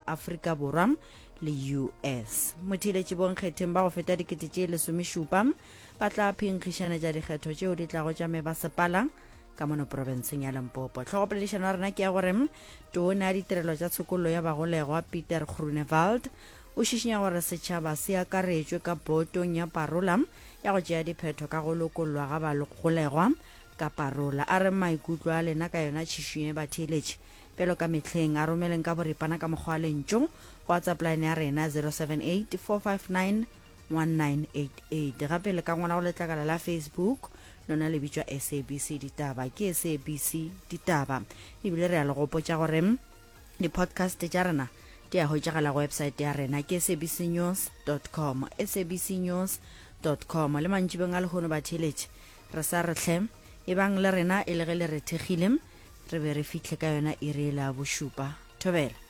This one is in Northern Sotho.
Afrika Borwa le US. Motheeletši bonkgetheng ba go feta dikete tše lesomešupa ba tla phenkgišanetša dikgetho tšeo di tlago tša mebasepala ka mono profenseng ya Limpopo. Hlogopoledišano ya rena ke ya gore tona ya ditirelo tša tshokollo ya bagolegwa Peter Groenewald o šišinya gore setšhaba se akaretšwe ka botong ya parola ya go tšea diphetho ka go lokollwa ga bagolegwa ka parola. A re maikutlo a lena ka yona tšhišinyo e batheeletši bjalo ka mehleng a romeleng ka boripana ka mokgwa wa lentšu go WhatsApp line ya rena 078 459 1988. Gape le ka ngwala go letlakala la Facebook, lona le bitšwa SABC Ditaba. Ke SABC Ditaba. Ebile re a le gopotša gore di-podcast tša rena di a hwetšagala go website ya rena ke sabcnews com, sabcnews com. Le mantšibeng a lehono batheeletši re sa re hle ebang le rena e le ge le re thekgile re be re fihle ka yona iri ela ya bošupa. Thobela.